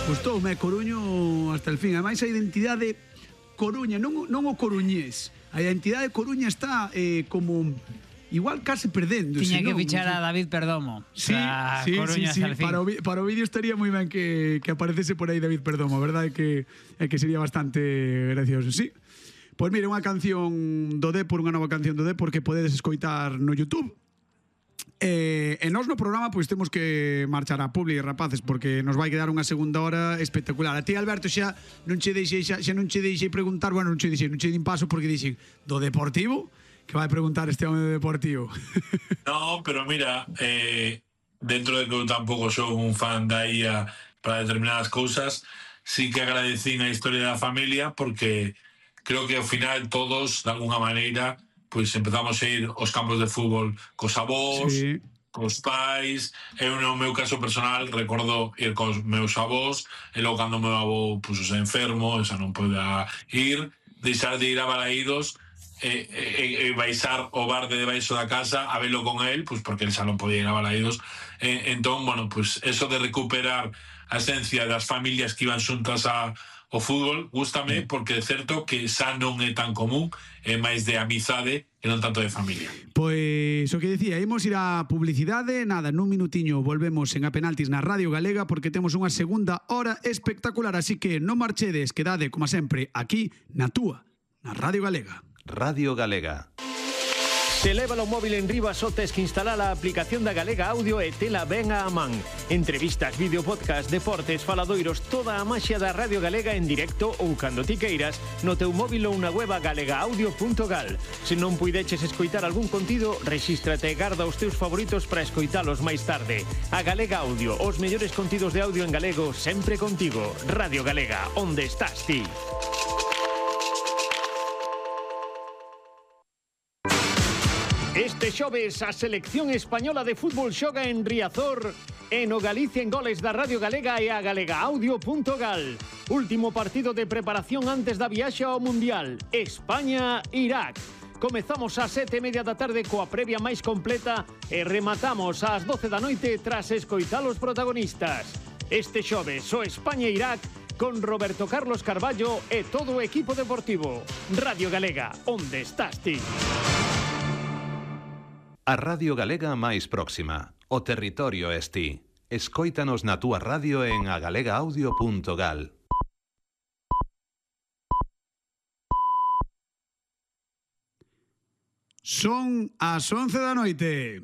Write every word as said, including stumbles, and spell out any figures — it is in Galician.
Gustoume Coruño hasta el fin. Ademais, a identidade Coruña, non, non o coruñés. A identidade Coruña está eh, como... igual casi perdendo. Tiña que non, fichar a David Perdomo. Sí, sí, sí, sí. Para, o, para o vídeo estaría moi ben que, que aparecese por aí David Perdomo. A verdade é que, é que sería bastante gracioso, sí. Pois mire, unha canción do Dépor, unha nova canción do Dépor que podedes escoitar no YouTube. E, e nós no programa pois temos que marchar a Publi, rapaces, porque nos vai quedar unha segunda hora espectacular. A ti, Alberto, xa non che deixei, xa, xa non che deixei preguntar, bueno, non che deixei, non che din paso porque dixen do Deportivo. Que vai preguntar este home de Deportivo? No, pero mira, eh, dentro de que eu tampouco sou un fan da I A para determinadas cousas, sí que agradecín a historia da familia porque creo que ao final todos, de alguna maneira, pois empezamos a ir aos campos de fútbol cos avós, sí, cos pais. Eu, no meu caso personal, recordo ir cos meus avós, e logo cando o meu avó puso enfermo, xa non poida ir, deixar de ir a Balaídos, E, e, e baixar o bar de debaixo da casa a velo con él, pues porque él xa non podía ir a Balaídos. E, entón, bueno, pues eso de recuperar a esencia das familias que iban xuntas a, ao fútbol, gústame, porque é certo que xa non é tan común, é máis de amizade e non tanto de familia. Pois o que decía, imos ir a publicidade, nada, nun minutiño volvemos en A Penaltis na Radio Galega porque temos unha segunda hora espectacular, así que non marchedes, quedade, como sempre, aquí na túa, na Radio Galega. Radio Galega. Se leva o móvil en riba só tes que instalar a aplicación da Galega Audio e tela ben a man. Entrevistas, vídeo, podcast, deportes, faladoiros, toda a maxia da Radio Galega en directo ou cando ti queiras no teu móvil ou na web galega audio punto gal. Se non puideches escoitar algún contido, rexístrate e garda os teus favoritos para escoitalos máis tarde. A Galega Audio, os mellores contidos de audio en galego sempre contigo. Radio Galega, onde estás ti? Este xoves a selección española de fútbol xoga en Riazor e no Galicia en Goles da Radio Galega e a galega audio punto gal. Último partido de preparación antes da viaxe ao Mundial. España-Irak. Comezamos ás sete e media da tarde coa previa máis completa e rematamos ás doce da noite tras escoitar os protagonistas. Este xoves o España-Irak con Roberto Carlos Carballo e todo o equipo deportivo. Radio Galega, onde estás ti? A Radio Galega máis próxima. O territorio es ti. Escóitanos na túa radio en a galega audio punto gal. Son as once da noite.